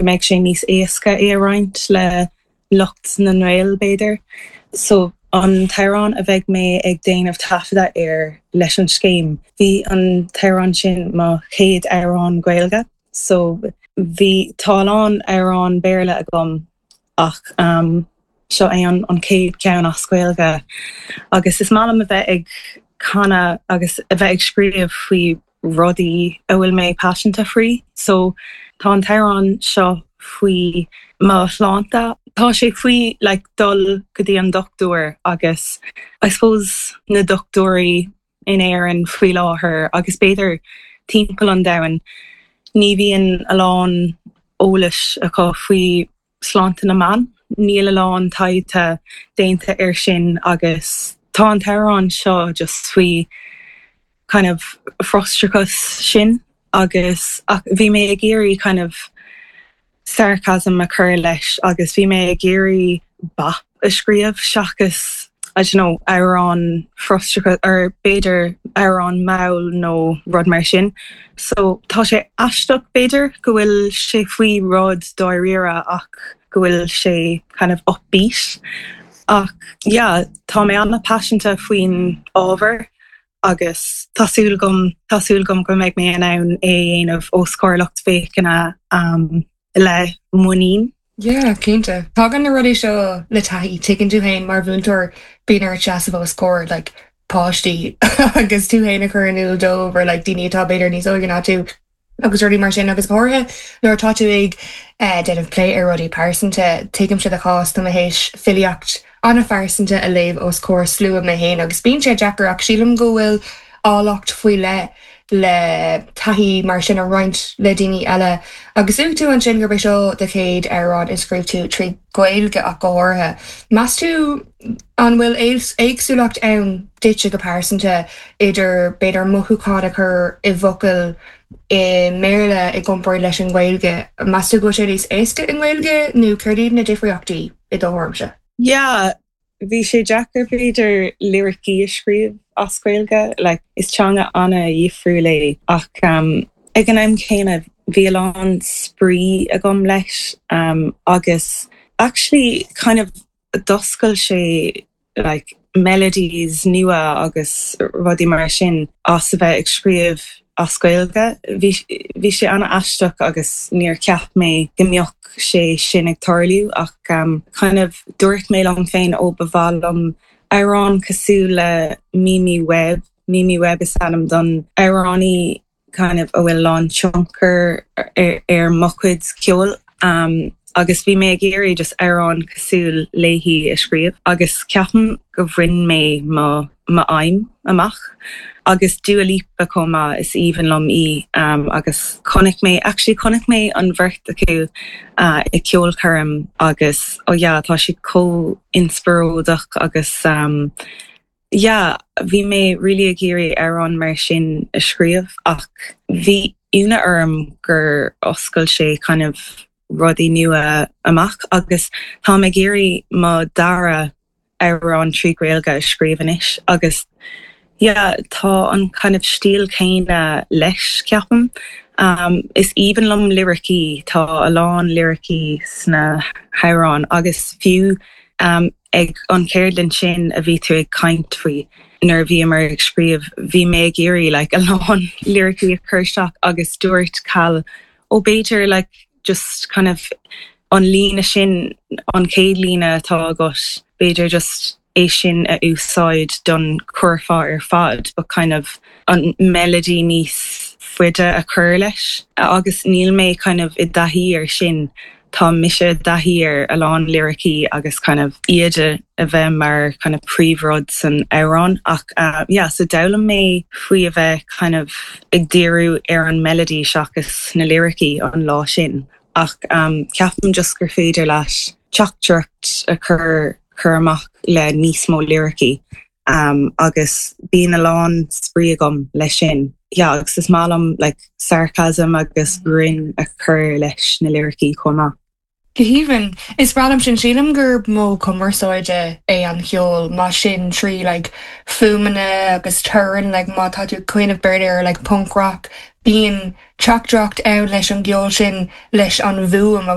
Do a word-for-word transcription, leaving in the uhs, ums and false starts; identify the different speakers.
Speaker 1: mbeidh sé níos éasca é a roinnt le lucht na nGael b'fhéidir. So an t-amhrán a bheidh mé ag déanamh taifeadadh air leis an scéim. Bhí an t-amhrán sin mo chéad amhrán Gaeilge, so bhí tá a lán amhrán Béarla agam ach um, seo é an an chéad ceann as Gaeilge. Agus is maith liom a bheith ag canadh agus a bheith ag scríobh faoi rudaí a bhfuil mé paiseanta faoi, so tá an t-amhrán seo faoi mo shláinte. Tá sé faoi like, dul go dtí an dochtúir agus I suppose na dochtúirí in Éirinn faoi láthair agus b'fhéidir timpeall an domhain ní bhíonn a lán eolais acu faoi sláinte na mban. Níl a lán taighde déanta air sin agus tá an t-amhrán seo just faoi kind of frustrachas sin agus ach bhí mé ag iarraidh kind of sarcasm a chur leis agus bhí mé ag iarraidh bop a scríobh seachas I don't know amhrán frustrachas or b'fhéidir amhrán mall nó rud mar sin. So tá sé aisteach b'fhéidir go bhfuil sé faoi rud dáiríre ach go bhfuil sé kind of upbeat. Ach yeah, tá mé an-paiseanta faoin ábhar agus tá súil agam tá súil agam go mbeidh mé in ann é a dhéanamh os comhair lucht féachana um, le muinín.
Speaker 2: Yeah, cinnte. Tagann na rudaí seo le taithí tuigeann tú féin mar mhúinteoir bíonn ort seasamh os comhair like, páistí agus tú féin a chur in iúl dóibh or like, daoine atá b'fhéidir níos óige ná tú agus rudaí mar sin agus háirithe nuair atá tú ag eh, déanamh plé ar rudaí pearsanta tuigimse do chás tá mé théis filíocht an-phearsanta a léamh os comhair slua mé féin agus bíonn sé deacair ach sílim go bhfuil áilleacht faoi leith le taithí mar sin a roinnt le daoine eile. Agus luaigh tú ansin gurb é seo do chéad amhrán a scríobh tú trí Ghaeilge ach go háirithe. Meas tú an bhfuil éagsúlacht ann duitse go pearsanta idir b'fhéidir mothúchán a chur i bhfocail i mBéarla i gcomparáid leis an Ghaeilge. Meas tú go sé níos éasca i nGaeilge nó céard iad na difríochtaí i do thuairimse?
Speaker 1: Yeah, bhí sé deacair b'fhéidir liricí a scríobh as Gaeilge, like, is teanga an-difriúil é ach um, ag an am céanna bhí a lán spraoi agam leis um, agus actually kind of d'oscail sé like melodies nua agus rudaí mar sin as a bheith ag scríobh as Gaeilge. Bhí sé an-aisteach agus níor cheap mé go mbeadh sé sin ag tarlú ach um, kind of dúirt mé liom féin ó ba mhaith liom amhrán cosúil le Mimi Webb, Mimi Webb is ainm don amhránaí kind of a bhfuil an-tionchar ar, ar mo chuid ceoil. Um, agus bhí mé ag iarraidh just amhrán cosúil léi a scríobh agus ceapaim go bhain mé mo m'aidhm amach. agus Dua Lipa chomh maith is aoibhinn liom í um, agus chonaic mé actually chonaic mé an bheirt acu uh, i ceolchoirm agus ó oh yeah, tá si chomh inspioráideach agus um, yeah, bhí mé really ag iarraidh amhrán mar sin a scríobh ach bhí ionadh orm gur oscail sé kind of rudaí nua amach agus tá ag iarraidh mo dara amhrán trí Ghaeilge a scríobh anois agus yeah, tá an kind of stíl céanna leis ceapaim. Um, is aoibhinn liom liricí tá a lán liricí sna hamhráin agus fiú um, ag an cheardlann sin a bhí tú ag caint faoi nuair a bhíomar ag scríobh bhí mé ag iarraidh like, a lán liricí a chur isteach agus dúirt Cal ó b'fhéidir like, just kind of an líne sin an chéad líne atá agat b'fhéidir just é sin a úsáid don churfá ar fad, but kind of an melody níos faide a chur leis agus níl mé kind of i dtaithí ar sin tá mise i dtaithí ar a lán liricí agus kind of iad a bheith mar kind of príomhrud san amhrán ach uh, yeah, so d'fhoghlaim mé faoi a bheith kind of ag díriú ar an melody seachas na liricí an lá sin ach um, ceapaim just gur féidir leis teachtaireacht a chur chur amach le níos mó liricí. Um, agus bíonn a lán spraoi agam leis sin. Yeah, agus is maith liom like, sarcasm agus greann a chur leis na liricí chomh maith.
Speaker 2: Go haoibhinn is breá liom sin sílim gur modh cumarsáide é an ceol mar sin trí like, fuaimeanna agus torann like, má tá tú cuimhneamh b'fhéidir like, punk rock bíonn teachtaireacht ann leis an gceol sin leis an bhfuaim